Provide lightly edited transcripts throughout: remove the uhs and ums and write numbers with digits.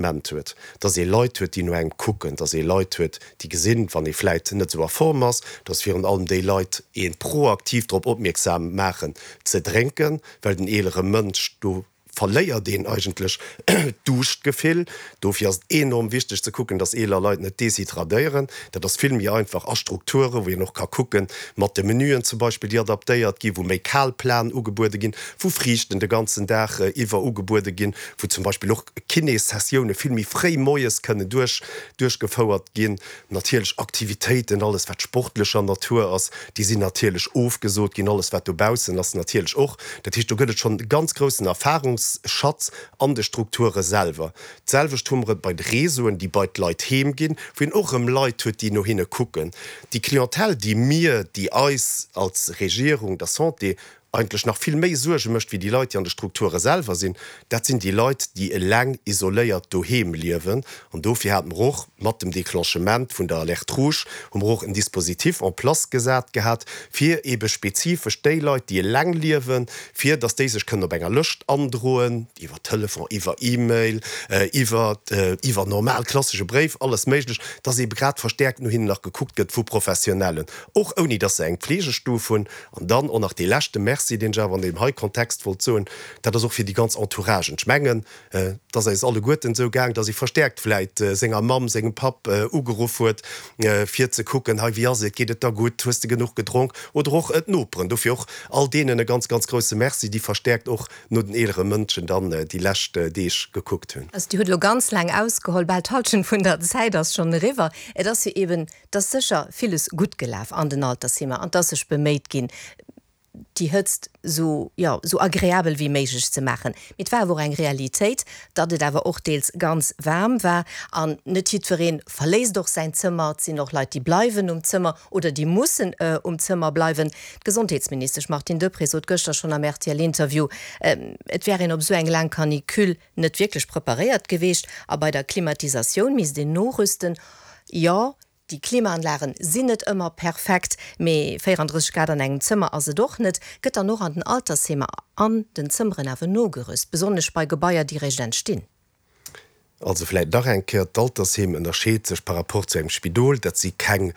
Ment huet, dass ee Leit huet, déi no engem kucken, dass ee Leit huet, déi gesinn, wann ee vläit net esou a Form ass, dass virun allem déi Leit ee proaktiv drop opmierksam maachen ze drénken, well den eelere Mënsch, do verléiert een eigentlech d'Duuschtgefill. Dofir ass et enorm wichteg ze kucken, dass eeler Leit net deshydradéieren. Dat ass vill méi einfach a Strukture wou een och ka kucken, mat de Menüen zum Beispill, déi adaptéiert ginn, wou méi kal Platen ugebuede ginn, wou Friichten de ganzen Dag iwwer ugebuede ginn, wou zum Beispill och Kinéssessioune vill méi fréi moies kënnen duerch duerchgefouert ginn. Natierlech Aktivitéiten, alles wat sportlecher Natur ass, déi sinn natierlech ofgesot ginn, alles wat dobaussen ass natierlech och. Dat heescht, do gëtt et schonn e ganz groussen Erfahrungsschatz an de Strukture selwer. D'selwecht hu mer et bei de Réseauen, déi bei d'Leit heem ginn, wou een och erëm Leit huet, déi no hinne kucken. Déi Clientèle, déi mir, déi eis als Regierung, der Santé eigentlech nach vill méi Suerge mécht wéi déi Leit, déi an de Strukture selwer sinn, dat sinn déi Leit, déi eleng isoléiert doheem liewen. An dofir hate mer och mat dem Déclenchement vun der Alerte rouge, hu mer och en Dispositif en place gesat gehat, fir eebe spezifesch déi Leit, déi eleng liewen, fir datt déi sech kënnen op enger Lëscht androen, iwwer Telefon, iwwer E-Mail, iwwer iwwer normal klassesche Bréif, alles méiglech, datt eebe grad verstäerkt no hinnen nach gekuckt gëtt vu Professionellen, och ouni datt se eng Pflegestuf hunn. An dann och nach dee leschte Merci, deen ech awer an deem hei Kontext wollt soen, dat ass och fir déi ganz Entouragen. Ech mengen, et ass eis alleguerten esou gaang, dass ee verstärkt vläit senger Mamm, sengem Papp ugeruff huet, fir ze kucken, Hei, wéi ass et, geet et der gutt, hues de genuch gedronk? Oder och d'Noperen. Dofir och all deenen e ganz, ganz grouse Merci, déi verstärkt och no den eelere Mënschen dann déi lescht Deeg gekuckt hunn. Also Dir hutt elo ganz laang ausgeholl, bal d'Hallschent vun der Zäit ass schonn eriwwer. Et ass jo eben 't ass sécher villes gutt gelaf an den Altersheemer an 't ass sech beméit ginn, déi Hëtzt esou, jo, esou agreabel wéi méiglech ze maachen. Mee et war awer och eng Realitéit, datt et awer och deels ganz waarm war an net jiddweree verléisst och säin Zëmmer. Et sinn och Leit, déi bleiwen um Zëmmer oder déi mussen um Zëmmer bleiwen. D'Gesondheetsministesch Martine Deprez sot gëschter schonn am RTL-Interview, et wär een op esou eng laang Canicule net wierklech preparéiert geweecht a bei der Klimatisatioun misst een norüsten. Jo, déi Klimaanlagen sinn net ëmmer perfekt, mee 34 Grad an engem Zëmmer ass et och net. Gëtt dann och an den Altersheemer an den Zëmmeren awer nogerüst, besonnesch bei Gebaier, déi réischt entstinn? Also vläit nach eng Kéier, D'Altersheem ënnerscheet sech par rapport zu engem Spidol. Dat si keng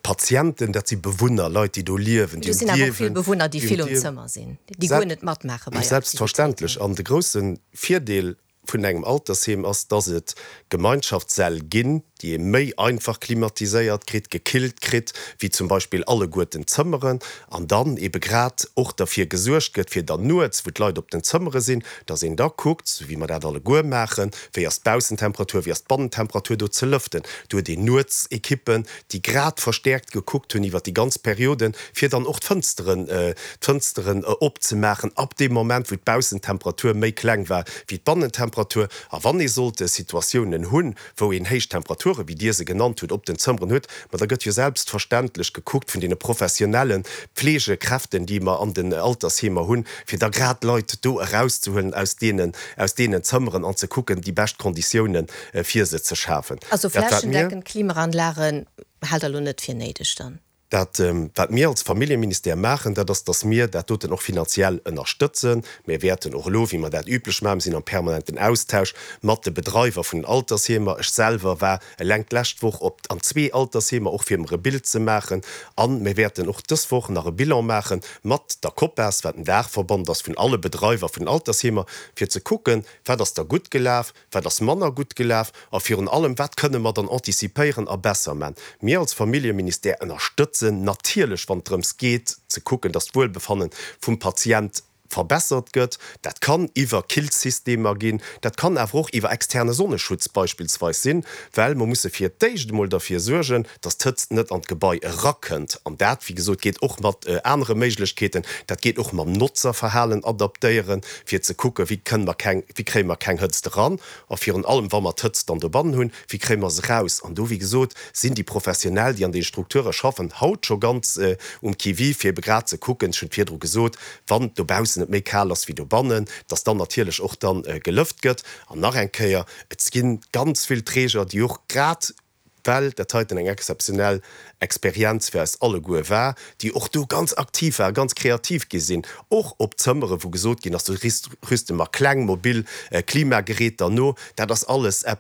Patienten, dat si Bewunner, Leit, déi do liewen, déi um Dierwen. Do sinn awer och vill Bewunner, déi vill um Zëmmer sinn, déi guer net matmaache bei Aktivitéiten. Selbstverständlech. An de grousse Virdeel vun engem Altersheem ass, dass et Gemeinschaftssäll ginn, déi ee méi einfach klimatiséiert kritt, gekillt kritt, wéi zum Beispill alleguerten d'Zëmmeren, an dann ebe grad och derfir gesuergt gëtt, fir dann nuets, wou d'Leit op den Zëmmere sinn, dass een da kuckt, sou wéi mer dat alleguer maachen, wéi ass d'Baussentemperatur, wéi ass d'Bannentemperatur, do ze lëften. Do huet een nuets Ekippen, déi grad verstäerkt gekuckt hunn iwwert déi ganz Perioden, fir dann och d'Fënsteren, d'Fënsteren opzemaachen ab deem Moment, wou d'Baussentemperatur méi kleng war wéi d'Bannentemperatur. A wann ee sollte Situatiounen hunn, wou een héich Temperaturen, wéi Dir se genannt hutt, op den Zëmmeren huet, ma da gëtt jo selbstverständlech gekuckt vun deene professionelle Pflegekräften, déi mer an den Altersheemer hunn, fir da grad d'Leit do erauszehuelen aus deenen, aus deenen Zëmmeren an ze kucken, déi bescht Konditiounen fir se ze schafen. Also flächendeckend Klimaanlagen haalt Der elo net fir néideg dann? Dat, wat mir als Familljeministère maachen, dat ass, dass mir dat doten och finanziell ënnerstëtzen. Mir wäerten och elo, wéi mer dat üblech maachen, mir sinn am permanenten Austausch mat de Bedreiwer vun den Altersheemer. Ech selwer war eleng d'lescht Woch op an zwee Altersheemer, och fir mer e Bild ze maachen. A mir wäerten och dës Woch nach e Bilan maache mat der COPAS, wat en Daachverband ass vun alle Bedreiwer vun den Altersheemer, fir ze kucken, wat ass da gutt gelaf, Wat ass manner gutt gelaf? A virun allem, wat kënne mer dann anticipéieren a besser man? Mir als Familljeministère ënnerstëtzen natierlech, wann et drëms geet, ze kucken, dass d'Wuelbefanne vum Patient verbessert gëtt. Dat kann iwwer Killsystemer ginn, dat kann awer och iwwer externe Sonneschutz beispillsweis sinn, well mer musse fir d'éischt emol derfir suergen, dass d'Hëtzt net an d'Gebai erakënnt. An dat, wéi gesot, geet och mat anere Méiglechkeeten. Dat geet och mam Notzerverhalen adaptéieren, fir ze kucken, wéi kënne mer keng, wéi kréie mer keng Hëtzt eran a virun allem, wa mer d'Hëtzt dann dobannen hunn, wéi kréie mer se eraus. An do, wéi gesot, sinn déi Professionell, déi an deene Strukture schaffen, haut scho ganz um Qui-vive, fir ebe grad ze kucken, ech hunn et virdru gesot, wann dobaussen et méi kal ass wéi dobannen, dass dann natierlech och dann gelëft gëtt. An nach eng Kéier, et gi ganz vill Träger, déi och grad. Well dat heiten eng exzeptionell Experienz fir eis alleguer war, déi och do ganz aktiv waren, ganz kreativ gi sinn, och op Zëmmere wou gesot ginn ass, do rüste mer kleng mobil Klimageräter no. Dat ass alles eppes.